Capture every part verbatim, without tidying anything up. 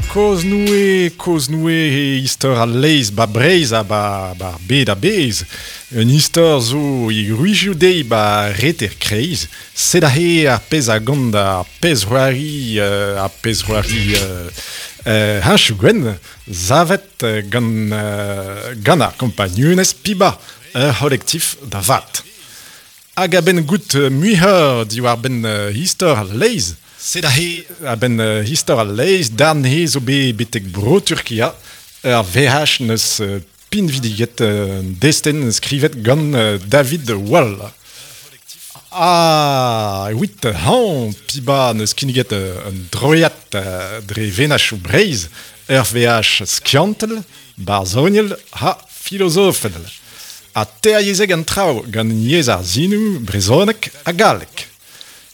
Koznoue, koznoue e istor al leiz ba Breizh ha ba, ba bed a bez. Un istor zo e gwrizioù dezhi ba reter kreiz. Sed aze ar pezh a gont ar pezh c'hoari, euh, ar pezh c'hoari euh, euh, Heñchoù gwenn, savet gant, euh, gant ar kompagnunezh Piba, ur c'holektif da vat. Hag a-benn goût muioc'h diwar-benn uh, istor al leiz. Sed aze a-benn uh, istor al leiz, darn he zo bet betek bro Turkia, ur V H neus uh, pinvidiget uh, destenn skrivet gant uh, David Wall. Ah, wit hañ, Piba neus kinniget uh, un droiad uh, dre venachoù Breizh, ur V H skiantel, barzhoniel ha filozofel. Ha teryezhek an traoù gant yezh ar sinoù, brezhoneg ha galleg.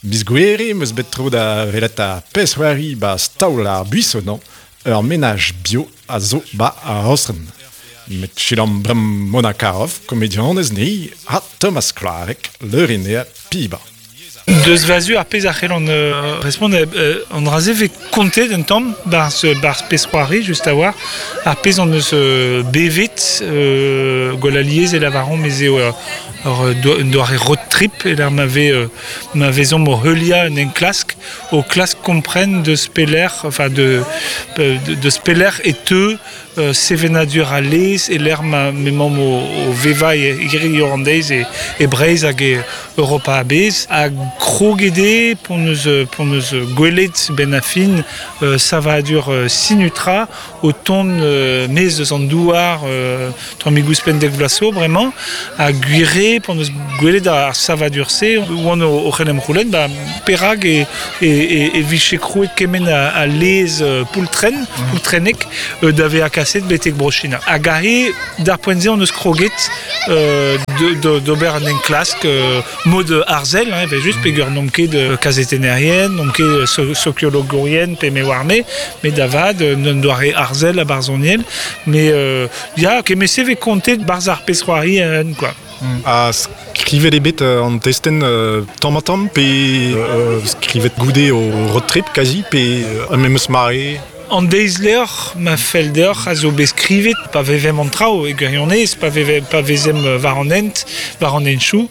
Miz Gouere meus bet tro da welet ar pezh c'hoari ba staol ar Buisson, ur menaj bio a zo ba ar Rostren. Met selaomp bremañ Mona Caroff, komedianez ni, ha Thomas Kloareg, leurenner Piba. Deus va zu ar pezh a c'hellan euh, respont euh, an dra-se vez kontet un tamm barzh barzh pezh c'hoari just a-walc'h ar pezh an eus euh, bevet euh, gwall alies e lavaran mez eo ur, ur, un doare road trip e lec'h ma vez euh, ma vezomp o heuliañ un enklask o klask kompren deus pelec'h enfin de de, deus pelec'h e teu euh, sevenadur al lez e lec'h ma m'emaomp o, o vevañ e hiziv an deiz e, e Breizh hag e Europa a-bezh hag kroget eo p'hon eus p'hon eus gwelet benn ar fin euh, savadur euh, Synutra o tont euh, maez eus an douar euh, tammig ouzhpenn dek vloaz zo bremañ ha gwir eo p'hon eus gwelet ar savadur-se oan o, o c'hellem c'houlenn ba perak e, e, e, e vije krouet kement a, a lez euh, poultren, mm. poultrennek euh, da vezañ kaset betek Bro-China. Hag aze d'ar poent-se on eus kroget euh, d'ober un enklask euh, mod arzel, hein, evel just, peogwir n'omp ket euh, kazetennerien, n'omp ket so sokiologourien pe me oar-me, met da vat, un doare arzel ha barzhoniel, mais euh, ya, kement-se vez kontet barzh ar pezh c'hoari en, quoi. Mm. Ha skrivet eo bet euh, an testenn euh, tamm ha tamm, pe euh, skrivet goude o road trip kazi, pe euh, memes mare? An deiz-levr ma fell deoc'h a zo bet skrivet pa vevemp an traoù e gwirionez, pa veve, pa vezemp war an hent, war an henchoù,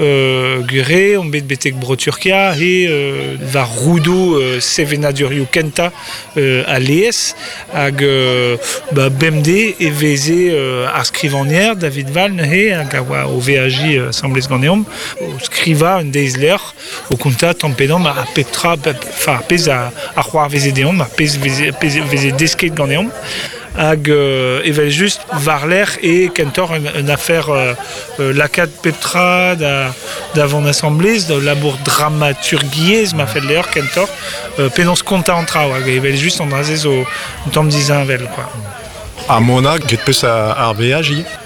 euh, gwir eo, on bet betek Bro-Turkia he euh, war roudoù euh, sevenadurioù kentañ euh, al lez hag euh, ba, bemdez e veze euh, ar skrivagner David Wall neuze hag a oa o veajiñ euh, asambles ganeomp o skrivañ un deiz-levr o kontañ tamm pe damm ar pep tra, enfin ar pezh a, a c'hoarveze deomp, ar pezh veze, pezh veze desket ganeomp hag euh, evel just war-lerc'h e kentoc'h un, un afer euh, euh, lakaat pep tra da, da vont asambles, da labour dramaturgiezh ma fell deoc'h kentoc'h euh, penaos kontañ an traoù hag evel just an dra-se zo un tamm disheñvel quoi. Ha Mona, graet 'peus ar veaj ivez?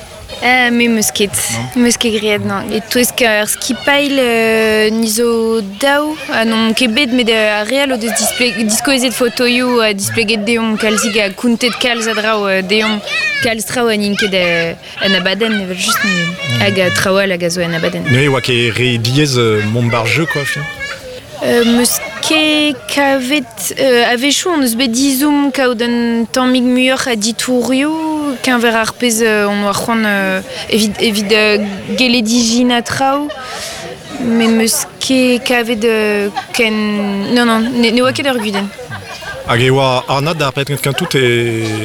Euh, me meus ket, meus ket graet, non. E-touesk ar skipailh euh, ni zo daou, ha n'on ket bet met ar re all o deus diskouezet fotoioù ha displeget deomp kalzik ha kontet kalz a draoù euh, deomp kalz traoù ha n'int ket euh, en abadenn evel just mm. hag a traoù all hag a zo en abadenn. Ne oa ket re diaes euh, mont ba'r jeu quoi, fin. Euh, meus ket kavet euh, a-wechoù on eus bet ezhomm kaout un tammig muioc'h a ditourioù keñver ar pezh euh, on oa c'hoant euh, evit, evit euh, gellet ijinañ traoù met meus ket kavet euh, ken non non ne, ne oa ket ur gudenn. Hag e oa anat d'ar penn kentañ tout e,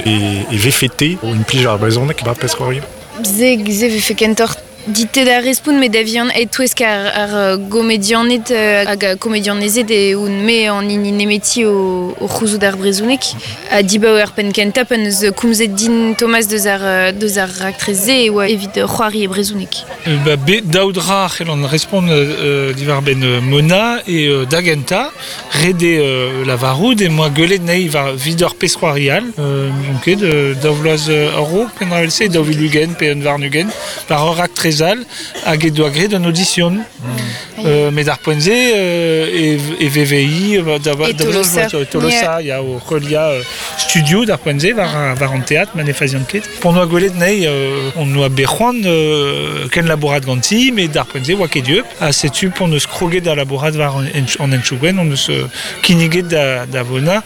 e, e vefe-te o implij ar brezhoneg ba pezh c'hoari? Se, se vefe kentoc'h dit-te da respont met da vihan e-touesk ar, ar gomedianed euh, hag a komedianezed e oun me an hini nemeti o, o c'houzout ar brezhoneg. Ha dibaoe ar penn kentañ pan eus komzet din Thomas deus ar, deus ar raktres-se e oa evit c'hoari e brezhoneg. Euh, ba, be, daou dra a c'hellan respont euh, diwar-benn euh, Mona e euh, da gentañ, ret eo euh, lavarout e moa gwelet anezhi war 'vit ur pezh c'hoari all, euh, n'on ket, euh, daou vloaz euh, a-raok, pe un dra evel-se, daou vil ugent pe un warn-ugent, war ur raktres all hag e doa graet un audition. Mm. Euh, met d'ar poent-se euh, e, e V V I da, da, E Tolosa. Da, Tolosa, ya o heuliañ euh, studio d'ar poent-se war, war an teatr ma ne fazian ket. Pon oa gwelet nei, euh, on oa bet c'hoant euh, ken labourat ganti, met d'ar poent-se oa ket dieub. Ha setu pon eus kroget da labourat war an, an entchougwen, on eus euh, kinniget da, da vona,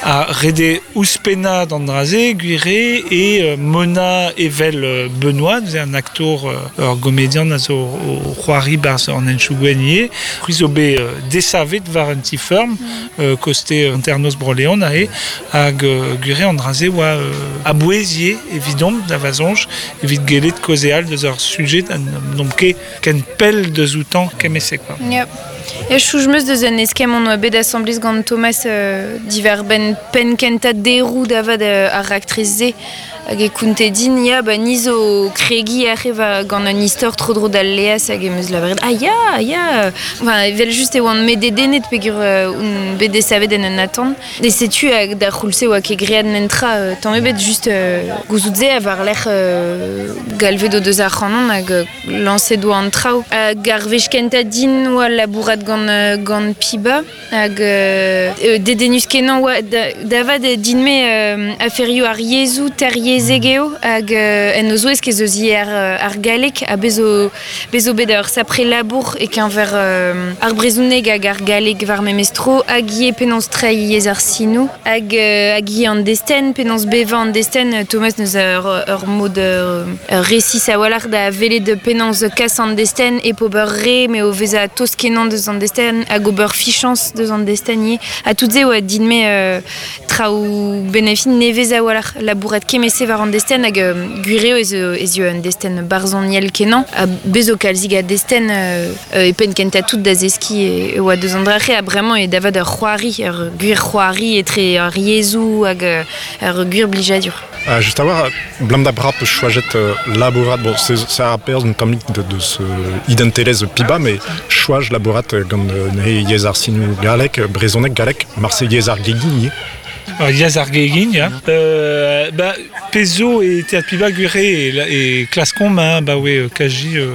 a rede ouzhpennañ d'an dra-se, gwire e euh, Mona evel euh, Benoît, neuze un aktour euh, ur gomedian a zo o c'hoari barzh an entchougwen ivez. C'hwi zo bet euh, desavet war un ti feurm, euh, koste hanternoz Bro-Leon aze, hag euh, gwire an dra-se oa euh, a-bouez ivez evidomp da va soñj, evit gellet kaozeal deus ur sujet an n'omp ket ken pell deus outañ kement-se quoi. Yep. E soñj 'm eus deus un eskemm on oa bet asambles gant Thomas euh, diwar-benn penn kentañ deroù da vat euh, ar raktres-se hag e kounte din ya ba ni zo kregiñ aze va gant un istor tro-dro d'al laezh hag em eus lavaret ah ya ya enfin evel just e oan me dedennet peogwir euh, on bet desavet en un atant e setu hag da c'houlz-se oa ket graet nentra euh, tamm ebet just euh, gouzout se a war lerc'h euh, galvet o deus ac'hanon hag euh, lañset oa an traoù. Hag ar wech kentañ din oa labourat gant, euh, gant Piba hag euh, euh, dedennus kenañ oa da, da vat din-me euh, aferioù ar yezhoù teryezhek eo hag euh, en o zouesk ez eus ivez ar, ar galleg ha bez zo, bez zo bet ur sapre labour e-keñver euh, ar brezhoneg hag ar galleg war memes tro hag ivez penaos treiñ yezh ar sinoù hag, euh, hag ivez an destenn penaos bevañ an destenn Thomas neus ur, ur mod euh, resis a-walc'h da welet penaos kas an destenn hep ober re met o vezañ tost kenañ deus an destenn hag ober fichañs deus an destenn ivez ha tout se oa din-me euh, traoù benefin nevez a-walc'h labourat kement-se war an destenn hag euh, gwir eo ez eo ez eo un destenn barzhoniel kenañ ha bez zo kalzik a destenn euh, e penn kentañ tout da zeskiñ e, e oa deus an dra-se ha bremañ eo da vat ur c'hoari ur gwir c'hoari etre ar yezhoù hag ur gwir blijadur. Uh, just a-walc'h, blam da bra peus choajet euh, labourat, bon, c'est c'est ar perzh un tammig de, de ce identelezh Piba, met choaj labourat gant euh, neuze yezh ar sinoù gallek, brezhoneg gallek, marse yezh ar gegin ivez. Alors, yezh ar gegin, ya. Euh, ba, pezh zo e Teatr Piba gwire e, e klaskomp, hein, ba oe kaji euh,